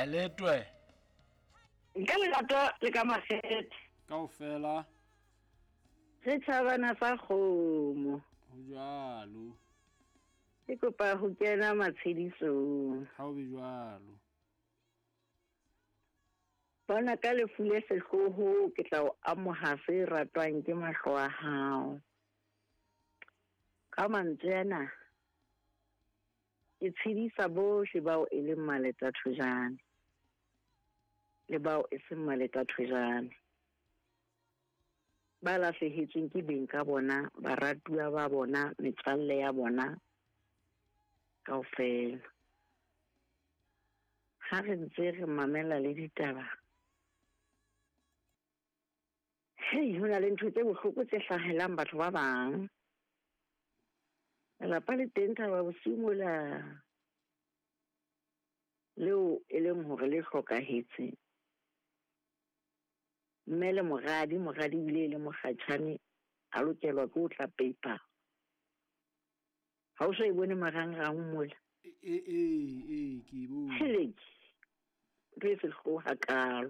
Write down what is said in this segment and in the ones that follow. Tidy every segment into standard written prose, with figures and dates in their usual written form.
Heletwe. Ka lerato le ka makgethe. Kaofela. Re tjhabana sa kgomo. Ho jwalo. Ke kopa ho kena matshedisong. Ha o be jwalo. Bona ka lefu le sehloho ke tla o amoha se ratwang ke mahlo a hao. Ka mantswe ana ke tshedisa bohle bao e leng maleta thojane le bao e seng maleta thojane. Ba lahlehetsweng ke beng ka bona, baratuwa ba bona, metswalle ya bona kaofela. Ha re ntse re mamela le ditaba, hei, ho na le ntho tse bohloko tse hlahelang batho ba bang. Lelapa le teng Thaba Bosiu mola leo e leng hore le hlokahetse. Mme le moradi, moradi ebile e le mokgatjhane, a lokelwa ke ho tla paper. Ha o so e bone marangrang mola? Ee, ke e bone. Heleke, ntho e sehloho hakalo.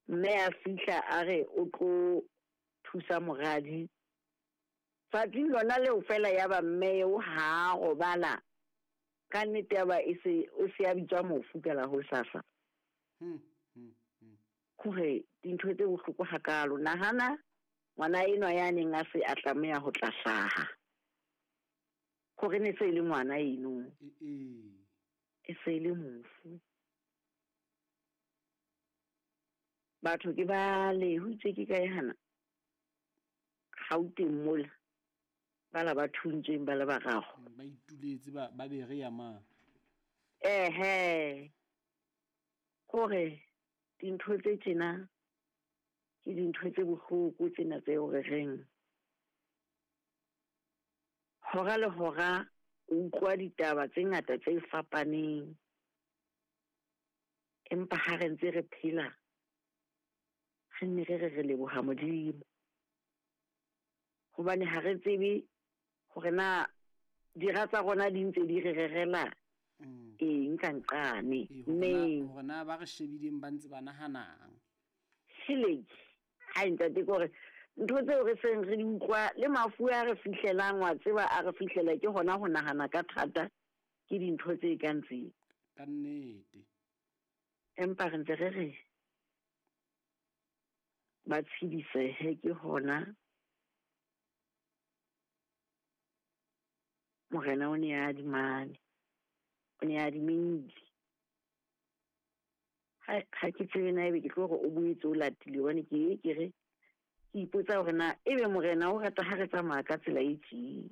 Mme a fihla a re o tlo thusa moradi. Tsatsing lona leo fela ya ba mme eo ha a robala. Ka nnete ya ba e se, o se a bitswa mofu ka la hosasa. Hore dintho tse bohloko hakalo. Nahana ngwana enwa ya neng a se a tlameha ho tla hlaha. Hore ne se e le ngwana eno. E se e le mofu. Batho ke ba le ho itse ke kae hana? Gauteng mola. Ba la ba thuntsweng ba le bararo. Ba ituletse ba be re ya mang? Ehe. Hore dintho tse tjena ke dintho tse bohloko tsena tseo re reng. Hora le hora o utlwa ditaba tse ngata tse fapaneng. Empa ha re ntse re phela, re nne re re re leboha Modimo. Hobane ha re tsebe hore na dira tsa rona di ntse di re rerela eng ka nqane. Neng. Hore na ba re shebileng ba ntse ba nahanang. Heleke. Hai ntate, ke hore ntho tseo re seng re di utlwa le mafu a re fihlelang, wa tseba a re fihlela ke hona ho nahana ka thata ke dintho tse kang tseo. Ka nnete. Empa re ntse re re ba tshedisehe ke hona Morena o ne a adimane, o ne a adimile. Ha ke tsebe na ebe ke tlo hore o boetse o latile, hobane ke ye ke re ke ipotsa hore na ebe Morena o rata ha re tsamaya ka tsela e tjee,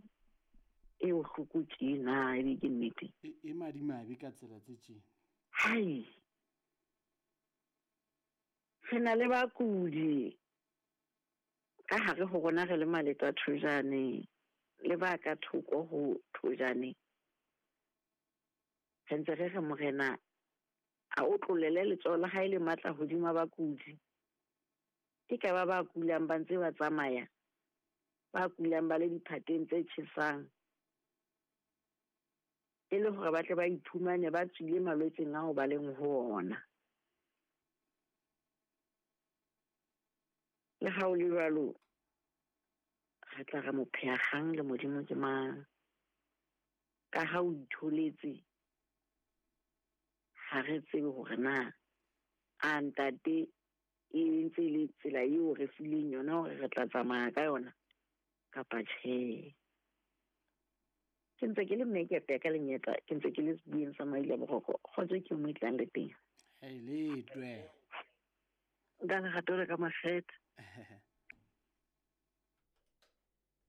e bohloko tjee na ebe ke nnete? E madimabe ka tsela tse tjee. Hai. Re na le bakudi ka hare ho rona re le maleta thojane le ba ka thoko ho thojane. Re ntse re re Morena a o tlolele letsoho la hae le matla hodima bakudi. Ke ka ba ba kulang ba ntse ba tsamaya, ba kulang ba le diphateng tse tjhesang, e le hore ba tle ba iphumane ba tswile malwetseng ao ba leng ho ona. Le ha o le jwalo, re tla re mopheakgang le Modimo ke mang? Ka ha o itholetse, ha re tsebe hore na a ntate e ntse le tsela eo re fileng yona hore re tla tsamaya ka yona kapa tjhe. Ke ntse ke le mmekepe ka lenyetla, ke ntse ke le sebueng sa Maila Boroko. Kgotso ke mo tlang le teng. Hei, letwe. Ka lerato le ka makgethe.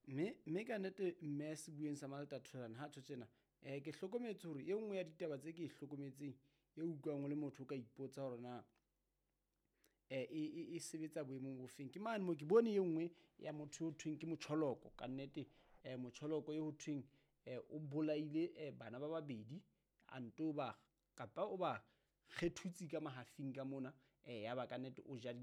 Mme ka nnete mme sebueng sa Malta Tholan ha tjho tjena, ke hlokometse hore e nngwe ya ditaba tse ke e hlokometseng e utlwang o le motho o ka ipotsa hore na e sebetsa boemong bofeng. Ke mane mo ke bone e nngwe ya motho ho thweng ke Motjholoko. Ka nnete, Motjholoko e ho thweng, o bolaile bana ba babedi, a nto ba kapa o ba kgethutse ka mahafing ka mona, ya ba ka nnete o ja